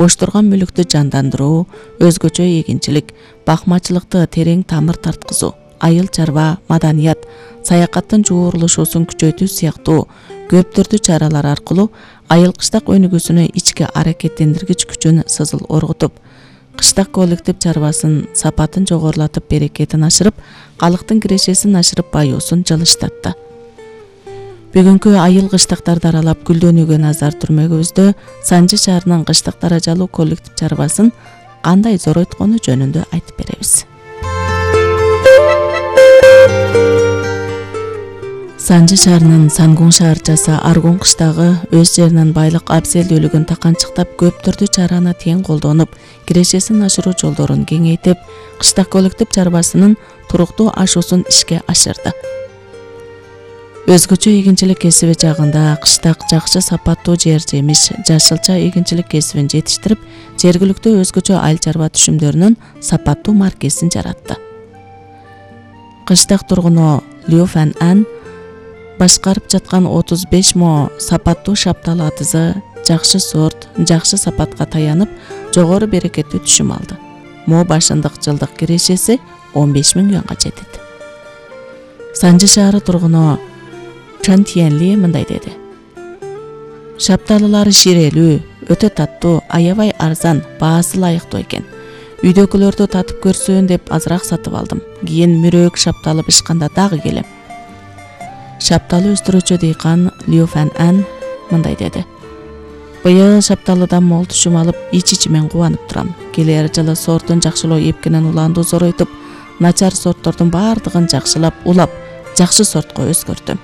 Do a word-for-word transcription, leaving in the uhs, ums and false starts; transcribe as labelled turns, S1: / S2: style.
S1: бош турган мүлүктү жандандыруу, өзгөчө эгинчилик, бакмачылыкты терең тамыр тарткызуу, айыл чарба, маданият, саякаттын жуурулушуусун күчөйтүү сыяктуу көп түрдүү чаралар аркылуу айыл кыштак өнүгүүсүнө ички аракеттендиргич күчүн сызыл оргутуп, кыштак коллектив чарбасын сапатын жогорулатып, берекетин ашырып, калктын кирешесин ашырып, баюусун жылыштатты. Бүгүнкү айыл кыштактарды аралап гүлдөнүүгө назар түрмөгүбүздө Санжы шаарынын кыштак даражалуу коллектив чарбасын кандай зоройткону жөнүндө айтып беребиз. Санжы шаарынын Сангун шаарчасы Аргун кыштагы өз жеринин байлык абзелдүүлүгүн таканчыктап, көп түрдүү чараны тең колдонуп, кирешесин ашыруу жолдорун кеңейтип, кыштак коллектив чарбасынын туруктуу ашуусун ишке ашырды. Өзгөчө эгинчилик кесиби жагында кыштак жакшы сапаттуу жер жемиш, жашылча эгинчилик кесибин жетиштирип, жергиликтүү өзгөчө айыл чарба түшүмдөрүнүн сапаттуу маркесин жаратты. Кыштак тургуну Лю Фан Ан башкарып жаткан отуз беш мо сапаттуу шапталы атызы жакшы сорт, жакшы сапатка таянып, жогору берекеттүү түшүм алды. Мо башындык жылдык кирешеси он беш миң юанга жетет. Санжы шаары тургуну Чан Тиенли мындай деди: шапталылары ширелүү, өтө таттуу, аябай арзан, баасы ылайыктуу экен. Үйдөгүлөрдү татып көрсүн деп азыраак сатып алдым. Кийин мүрөөк шапталы бышканда дагы келем. Шапталы өстүрүүчү дыйкан Лю Фан Ан мындай деди: быйыл шапталыдан мол түшүм алып, ич-ичимен кубанып турам. Келер жылы сортун жакшылоо эпкинин уланду зоройтуп, начар сорттордун баардыгын жакшылап, улап, жакшы сортко өзгөртөм.